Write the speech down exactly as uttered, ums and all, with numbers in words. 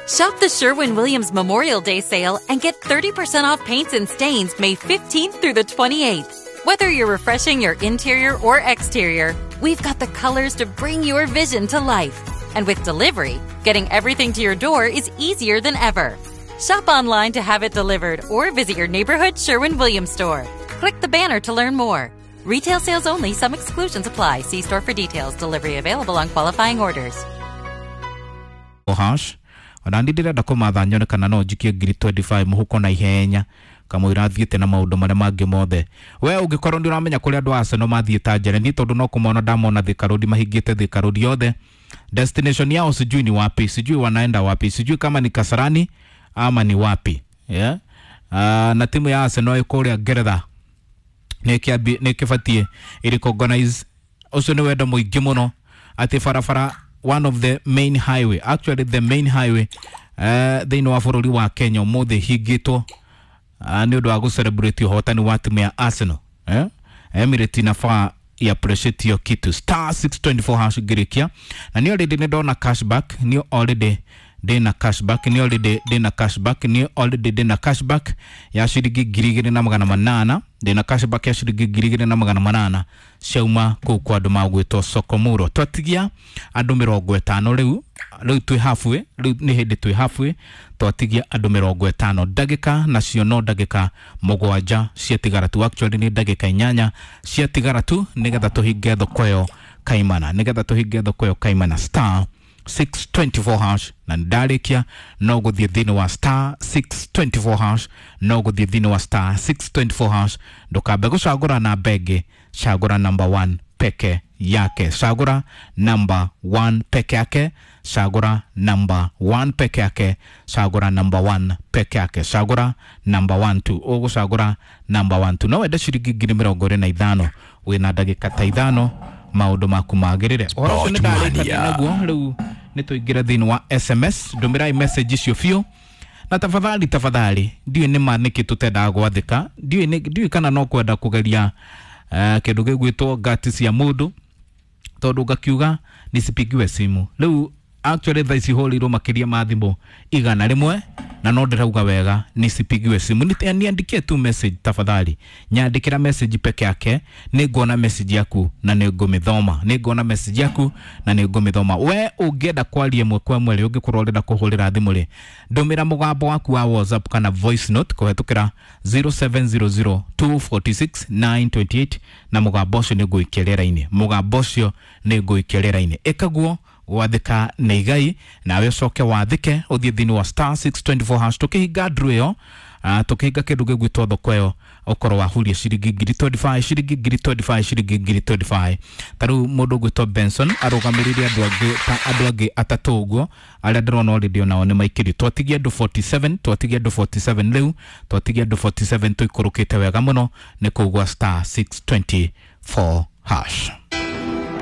Shop the Sherwin-Williams Memorial Day sale and get thirty percent off paints and stains May fifteenth through the twenty-eighth. Whether you're refreshing your interior or exterior, we've got the colors to bring your vision to life. And with delivery, getting everything to your door is easier than ever. Shop online to have it delivered or visit your neighborhood Sherwin-Williams store. Click the banner to learn more. Retail sales only. Some exclusions apply. See store for details. Delivery available on qualifying orders. Hash. Ona ndi ndirenda kũmatha nyone kana no njikie ngiri twenty-five mũhuko na ihenya kamũira thiĩte na maũndũ marĩa mangĩ mothe. We ũngĩkorwo nĩ ũramenya kũrĩa andũ a Arsenal mathiĩ ta njere ni tondũ no kũmona ndamona Thika Road mahingĩte Thika Road yothe. Destination yao sijui ni wapi, sijui wanaenda wapi, sijui kama ni Kasarani ama ni wapi. Yeah? Uh, na timu ya Arsenal ĩkũrĩa Ngeretha nĩ kĩbatiĩ ĩrecognize ũcio nĩ wendo mũingĩ mũno atĩ barabara one of the main highway, actually the main highway uh, thĩinĩ wa bũrũri wa Kenya ũmũthĩ hingĩtwo uh, nĩ ũndũ wa gũcelebrate ũhotani wa timu ya Arsenal. Eh? Emirates inafaa ya appreciate hiyo kitu. Star six twenty-four hash ngĩrĩkia na nĩ already nĩ ndona cashback, nĩ already ndĩna cashback, nĩ already ndĩna cashback, nĩ already ndĩna cashback ya ciringi ngiri igĩrĩ na magana manana, ndĩna cashback ya ciringi ngiri igĩrĩ na magana manana ciauma kũu kwa andũ magwĩtwo Sokomuro. Twatigia andũ mĩrongo ĩtano rĩu, rĩu twĩ halfway, rĩu nĩ hĩndĩ twĩ halfway, twatigia andũ mĩrongo ĩtano ndagĩka nacio no ndagĩka mũgwanja ciatigara tu, actually nĩ ndagĩka inyanya ciatigara tu nĩgetha tũhinge thoko ĩyo kaimana, nĩgetha tũhinge thoko ĩyo kaimana. Star six twenty-four hash na ndarĩkia no gũthiĩ thĩinĩ wa star six twenty-four hash, no gũthiĩ thĩinĩ wa star six twenty-four hash. Ndũkambe gũcagũra namba ĩngĩ, cagũra number one peke yake, cagũra number one peke yake, cagũra number one peke yake, cagũra number one peke yake, cagũra number one two, ũgũcagũra number one two. No wende ciringi ngiri mĩrongo ĩrĩ na ithano wĩna ndagĩka ta ithano maũndũ maku magĩrĩre. Ũhoro ũcio nĩ ndarĩkania naguo, rĩu nĩ tũingĩre thĩinĩ wa S M S. Ndũmĩrai message icio biũ na tafadhali, tafadhali, ndiũĩ nĩ ma nĩkĩ tũtendaga gwathĩka, ndiũĩ ndiũĩ kana no kwenda kũgeria uh, kĩndũ gĩgwĩtwo ngati cia mũndũ tondũ ngakiuga nisipigiwe simu. Rĩu actually thaa ici hũrĩirwo makĩria ma thimũ igana rĩmwe na no ndĩrauga wega nisipigiwe simu. Niandikie tu message tafadhali, nyandĩkĩra message peke yake, nĩnguona message yaku na nĩngũmĩthoma, nĩnguona message yaku na nĩngũmĩthoma. We ũngĩenda kwaria ĩmwe kwa ĩmwe rĩ, ũngĩkorwo ũrenda kũhũrĩra thimũ rĩ, ndũmĩra mũgambo waku wa WhatsApp kana voice note kũhetũkĩra zero seven zero zero two four six nine two eight na mũgambo ũcio nĩngũikia rĩera-inĩ, mũgambo ũcio nĩngũikia rĩera-inĩ. Ĩkaguo gwathĩka nĩ igai nawe ũcoke wathĩke ũthiĩ thĩinĩ wa star six twenty-four hash. Tũkĩhinga ndru ĩyo, tũkĩhinga kĩndũ gĩgwĩtwo thoko ĩyo, ũkorwo wahuria ciringi ngiri twenty-five, ciringi ngiri twenty-five, ciringi ngiri twenty-five. Ta rĩu mũndũ ũgwĩtwo Benson arũgamĩrĩire andũ angĩ ta andũ angĩ atatũ ũguo arĩa ndĩrona already onao nĩ maikĩrio. Twatigia andũ forty-seven, twatigia andũ forty-seven rĩu, twatigia andũ forty-seven tũikũrũkĩte wega mũno nĩ kũu gwa star six twenty-four hash.